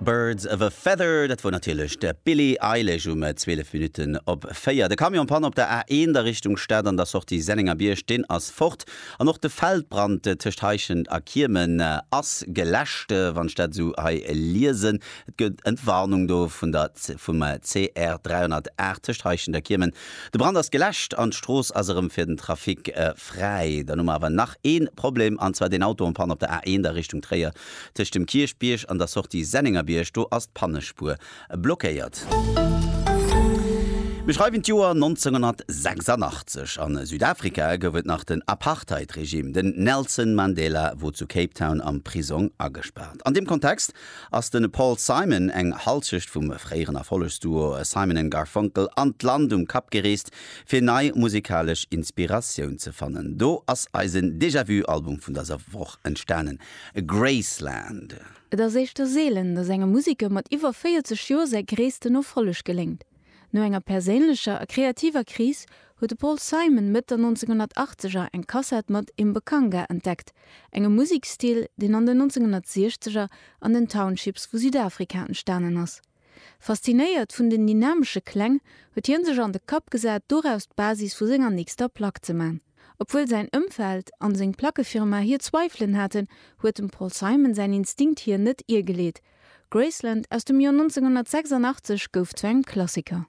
Birds of a Feather, dat wor natierlech d'Billie Eilish um 12 Minutten op 4. De Camion Panne op der A1 a Richtung Stad an der Sortie Sennengerbierg, deen ass fort. An och de Feldbrand tëscht Heischent a Kiemen ass geläscht, wann ech dat esou hei liesen. Et gëtt Entwarnung do vun der vum CR 308 tëscht Heischent a Kiemen. De Brand ass geläscht an d'Strooss ass erëm fir den Trafic fräi. Dann hu mer awer nach ee Problem, an zwar deen Auto en panne op der A1 a Richtung Tréier tëscht dem Kierchbierg an der Sortie Sennengerbierg. Do ass d'Pannespuer blockéiert. Mir schreiwen d'Joer 1986. A Südafrika gouf et nach den Apartheid-Regime. Den Nelson Mandela wor zu Cape Town am Prisong agespaart. An deem Kontext ass de Paul Simon, eng Halschecht vum fréieren Erfollegsduo Simon and Garfunkel, an d'Land um Kap gereest, fir nei musikalesch Inspiratioun ze fannen. Do ass eisen Déjà-Vu-Album vun dëser Woch entstanen, Graceland. Et ass éischter seelen, datt engem Museker mat iwwer 40 Joer säi gréissten Erfolleg geléngt. No enger perséinlecher a kreativer Kris huet de Paul Simon Mëtt der 1980er eng Kassett mat Imbekanga entdeckt, engem Musekstil, deen an den 1960er an den Townships vu Südafrika entstanen ass. Faszinéiert vun den dynamesche Kläng huet hien sech an de Kapp gesat, doraus d'Basis vu senger nächster Plack ze man. Obwuel säin Ëmfeld an seng Plackefirma hir Zweifelen haten, huet dem Paul Simon säin Instinkt hien net iergeleet. Graceland aus dem Joer 1986 gouf zu engem Klassiker.